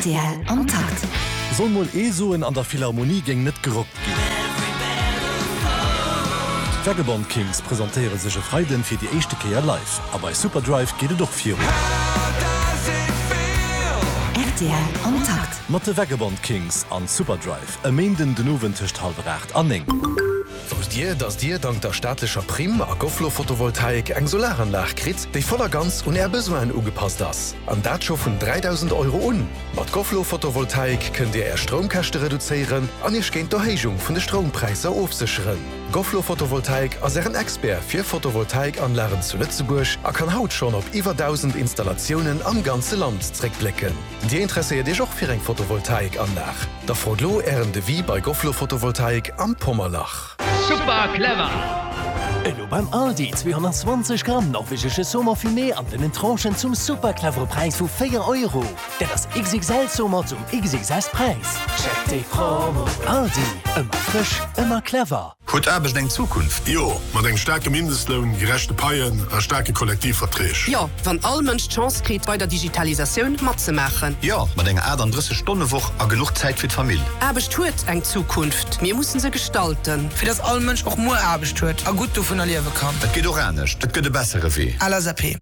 Rtl am Takt. Soll mol ee soen, an der Philharmonie géing net gerockt ginn. D'Vagabond Kings presentéiere sech e Freiden fir déi éischte Kéier live. A bei Superdrive geet et och virun. Rtl am Takt. Mat de Vagabond Kings an Superdrive e Méinden den Owend tëscht hallwer 8 an 9. Wousst Dir, dass Dir dank der staatlecher Primm a Goflo Photovoltaik eng Solaranlag kritt, déi voll a ganz un Är Besoinen ugepasst ass? An dat scho vun 3.000 Euro un! Mat Goflo Photovoltaik kënnt Dir Är Stroumkäschte reduzéieren an Iech géint d'Erhéijung vun de Stroumpräisser ofsécheren. Goflo Photovoltaik ass Ären Expert fir Photovoltaikanlagen zu Lëtzebuerg a kann haut schonn op iwwer 1.000 Installatiounen am ganze Land zréckblécken. Dir interesséiert Iech och fir eng Photovoltaikanlag? Da frot lo Ären Devis bei Goflo Photovoltaik am Pommerlach. Super clever! Elo beim Aldi 220 Gramm norwegesche Saumon fumé an dënnen Tranchen zum super clevere Präis vu 4 Euro. Dat ass XXL Saumon zum XXS Präis. Check déi Promo! Aldi, ëmmer frësch, ëmmer clever. Huet Aarbecht eng Zukunft? Jo, mat engem staarke Mindestloun, gerechte Paien a staarke Kollektivverträg. Jo, wann all Mënsch d'Chance kritt, bei der Digitalisatioun matzemaachen. Jo, mat enger 38 Stonne Woch a genuch Zäit fir d'Famill. Aarbecht huet eng Zukunft, mir mussen se gestalten. Fir dass all Mënsch och muer Aarbecht huet a gutt dovunner liewe kann. Et geet och anescht, et gëtt e bessere Wee. LSAP.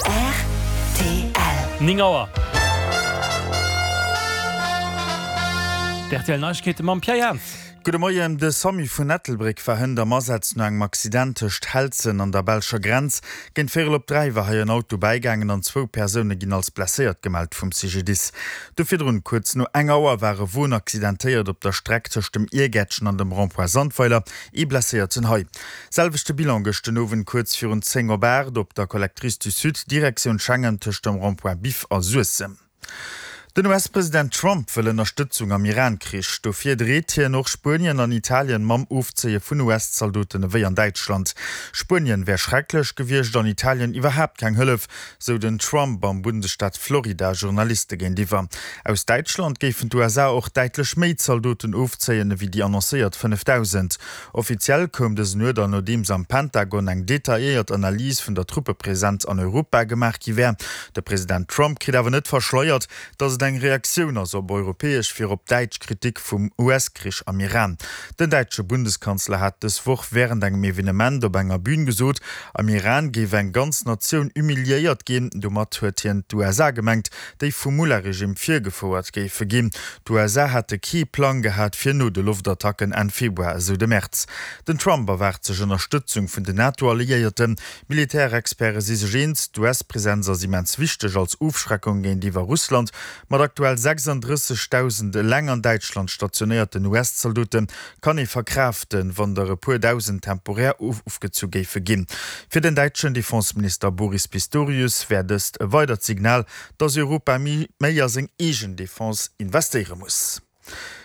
Rtl. 9 Auer. D'RTL Neiegkeete mam Pierre Jans. Gudde Moien, De Samu vun Ettelbréck war hënt am Asaz no engem Accident tëscht Helzen an der belscher Grenz. Géint véierel op 3 war hei en Auto bäigaangen an zwou Persoune ginn als blesséiert gemellt vum CGDIS. Do virdrun, kuerz no eng Auer, war e Won accidentéiert op der Streck tëscht dem Iergäertchen an dem Rond-point Sandweiler. Ee Blesséierten hei. Selwechte Bilan gëscht den Owend kuerz virun 10 op 8 op der Collectrice du Sud, Direktioun Schengen, tëscht dem Rond-point Biff a Suessem. Den US-President Trump wëll Ënnerstëtzung am Iran-Krich. Dofir dreet hien och Spuenien an Italien mam Ofzéie vun US-Zaldoten ewéi an Däitschland. Spuenien wär schrecklech gewiescht an Italien iwwerhaapt keng Hëllef, sou den Trump am Bundesstaat Florida Journaliste géintiwwer. Aus Däitschland géifen d'USA och däitlech méi Zaldoten ofzéien ewéi déi annoncéiert 5.000. Offiziell koum dësen Uerder, nodeems am Pentagon eng detailléiert Analys vun der Truppepresenz an Europa gemaach gi wär. De President Trump kritt awer net verschleiert, datt et eng Reaktioun ass op europäesch, virop däitsch Kritik vum US-Krich am Iran. Den däitsche Bundeskanzler hat dës Woch wärend engem Evenement op enger Bün gesot, am Iran géif eng ganz Natioun humiliéiert ginn. Domat huet hien d'USA gemengt, déi vum Mullah-Regime virgefouert géife ginn. D'USA hätte kee Plang gehat fir no de Loftattacken Enn Februar, esou de Merz. Den Trump erwaart sech Ënnerstëtzung vun den NATO-Alliéierten. Militärexperte si sech eens, d'US-Presenz ass immens wichteg als Ofschreckung géintiwwer Russland. Mat aktuell 36.000 eleng an Däitschland stationéierten US-Zaldote kann ee verkraaften, wann der e puer Dausend temporär ofgezu géife ginn. Fir den däitschen Defenseminister Boris Pistorius wär dëst e weidert Signal, dass Europa méi a seng eegen Defense investéiere muss.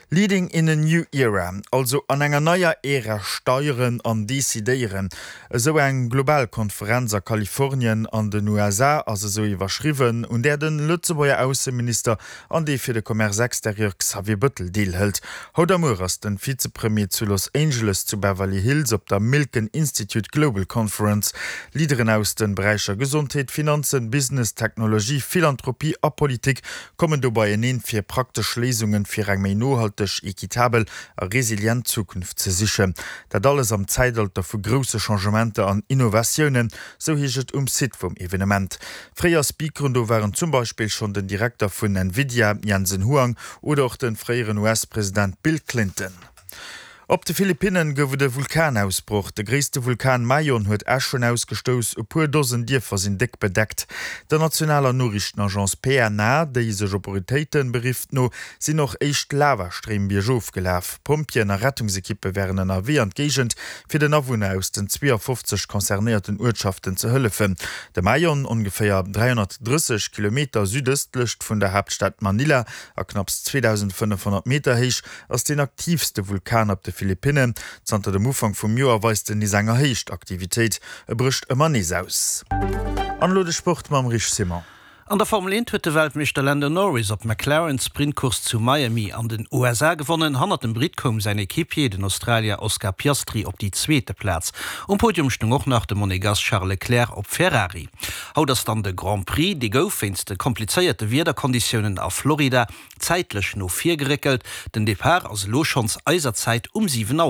Leading in a new era, also an enger neier Ära steieren an decidéieren. Esou eng global Konferenz a Kalifornien an den USA ass esou iwwerschriwwen, un där de Lëtzebuerger Ausseminister an dee fir de Commerce extérieur Xavier Bëttel deelhëlt. Haut a muer ass den Vizepremier zu Los Angeles zu Beverly Hills op der Milken Institute Global Conference. Leaderen aus den Beräicher Gesondheet, Finanzen, Business, Technologie, Philanthropie a Politik kommen do beieneen fir praktesch Léisungen fir eng méi nohalteg, equitabel a resilient Zukunft ze sichen. Dat alles am Zäitalter vu grousse Changementer an Innovatiounen, sou heescht et um Site vum Evenement. Fréier Speakeren do waren zum Beispill schonn den Direkter vun Nvidia, Jensen Huang, oder och de fréieren US-President Bill Clinton. Op de Philippinnen gouf et e Vulkanausbroch. De gréisste Vulkan Mayon huet Äschen ausgestouss, e puer Dosen Dierfer sinn déck bedeckt. Der nationaler Noriichtenagence PNA, déi sech op Autoritéite berifft, no sinn och éischt Lavastréim biergof gelaf. Pompjeeën a Rettungsekippe wären ënnerwee an d'Géigend, fir den Awunner aus den 52 concernéierten Uertschaften ze hëllefen. De Mayon, ongeféier 330 Kilometer südëstlecht vun der Haaptstad Manila a knapps 2.500 Meter héich, ass deen aktiivste Vulkan op de Philippinnen. Zanter dem Ufank vum Joer weist en nees eng erhéicht Aktivitéit, e brécht ëmmer nees aus. An elo de Sport mam Rich Simon. An der Formel 1 huet de Weltmeeschter Lando Norris op McLaren d'Sprintcourse zu Miami an den USA gewonnen. Hannert dem Britt koum säin Equipier, den Australier Oscar Piastri op déi zweete Plaz. Um Podium stung och nach de Monegass Charles Leclerc op Ferrari. Haut ass dann de Grand Prix. Dee gouf wéinst de komplizéierte Wiederkonditiounen a Florida zäitlech no vir geréckelt. Den Depart ass elo schonns eiser Zäit um 7 Auer.